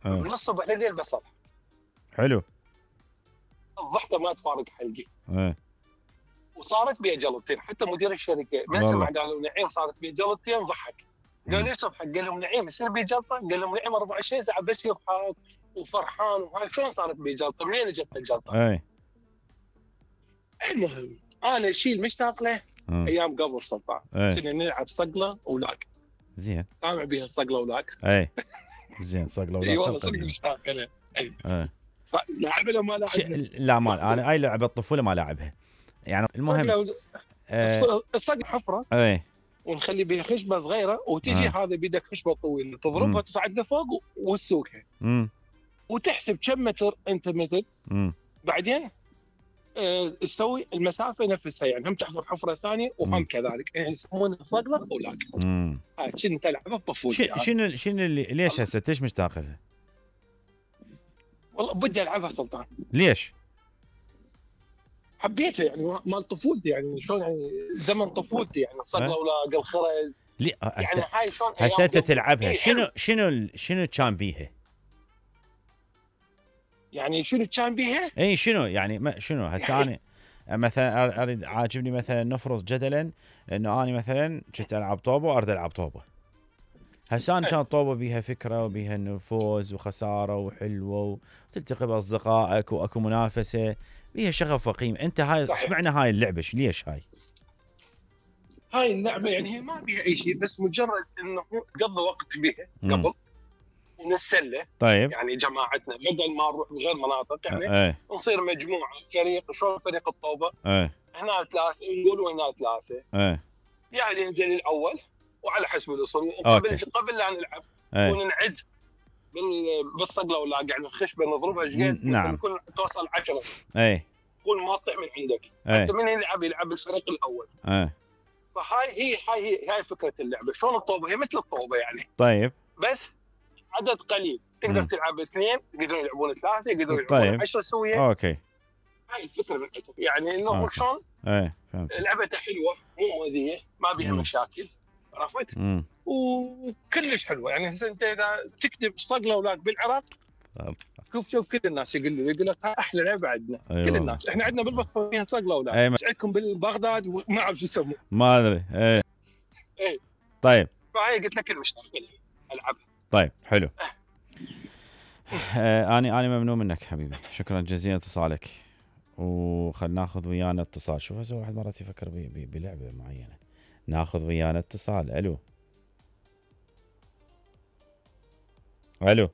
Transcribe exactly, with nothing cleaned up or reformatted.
من ايه الصبح لليل بصل. حلو. الضحكه ما تفارق حلقي. ايه وصارت بيها جلطتين، حتى مدير الشركه من سمع والله قالوا نعيم صارت بيها جلطتين ضحك. قال مم. ليش تضحك؟ قال لهم نعيم يصير بيه جلطه؟ قال لهم نعيم أربعة وعشرين ساعه بس يضحك وفرحان وهاي شلون صارت بيه جلطه؟ منين اجت الجلطه؟ ايه المهم انا الشيء المشتاق له مم. ايام قبل سلطان ايه كنا نلعب صقله ولاك. زين. سامع بيها الصقله ولاك؟ ايه زين صقله اي ولا والله صدق قديم. مشتاق انا. اي ايه لعبها لو ما ش... لعبها؟ لا ما انا اي لعبه الطفوله ما لعبها يعني المهم. صقله و... آه. الصقله حفره ايه ونخلي بها خشبه صغيره وتجي آه. هذا بيدك خشبه طويله تضربها مم. تصعد لفوق وتسوقها امم وتحسب كم متر انت مثل. امم بعدين آه، تسوي المسافه نفسها، يعني هم تحفر حفره ثانيه وهم مم. كذلك، يعني يسمونها صقله ولاك. امم هاي كنت العبها بطفولتي. ش- شنو شنو اللي ليش هسه ليش مشتاق لها؟ والله بدي العبها سلطان، ليش؟ حبيتها يعني مال طفولتي، يعني شلون يعني زمن طفولتي، يعني الصقله أه؟ ولاق الخرز. ليه يعني هسه هاي شلون هسه انت قبل. تلعبها إيه شنو حلو. شنو ال- شنو كان بيها؟ يعني شنو كان بيها؟ اي شنو يعني ما شنو هسه يعني انا مثلا أر- اريد عاجبني مثلا نفرض جدلا انه انا مثلا كنت العب طوبه واريد العب طوبه. هسه انا كانت طوبه بيها فكره وبيها انه فوز وخساره وحلوه وتلتقي باصدقائك واكو منافسه بيها شغف وقيمه. انت هاي صحيح. اشمعنى هاي اللعبه ليش هاي؟ هاي اللعبه يعني هي ما بيها اي شيء، بس مجرد انه قضي وقت بيها مم. قبل ونتسلى. طيب يعني جماعتنا بدل ما نروح بغير مناطق يعني ايه نصير مجموعه فريق، شلون فريق الطوبه ايه هنا ثلاثه نقول وهنا ثلاثه، ايه يعني ينزل الاول وعلى حسب الوصول. أوكي. وقبل قبل لا نلعب ايه ونعد بال- بالصقله ولا يعني الخشبه نضربها ايش قد نعم. يكون توصل عشرة. ايه قول ما تطيح من عندك. ايه انت من يلعب يلعب الفريق الاول. ايه فهاي هي هاي هي هاي فكره اللعبه. شلون الطوبه؟ هي مثل الطوبه يعني، طيب بس عدد قليل. تقدر مم. تلعب اثنين، يقدرون يلعبون ثلاثه، يقدرون يلعبون طيب عشرة سويه. اوكي هاي الفكره من عندهم. يعني انه أوكي. شلون ايه فهمت. لعبته حلوه مو مؤذيه ما بيها مم. مشاكل، عرفت؟ امم وكلش حلوه. يعني هسه انت اذا تكتب صقله اولاد بالعراق شوف شوف كل الناس يقول يقول لك احلى لعبه عندنا. أيوة. كل الناس احنا عندنا بالبصره فيها صقله اولاد. أي ما- ايش عندكم بالبغداد وما اعرف شو يسموه. ما ادري ايه ايه طيب فهي قلت لك المشتاق العبها. طيب حلو. آه اني اني ممنون منك حبيبي، شكرا جزيلا اتصالك. وخلنا ناخذ ويانا اتصال. شوف هسه واحد مرات يفكر بي بي بلعبه معينه. ناخذ ويانا اتصال. الو الو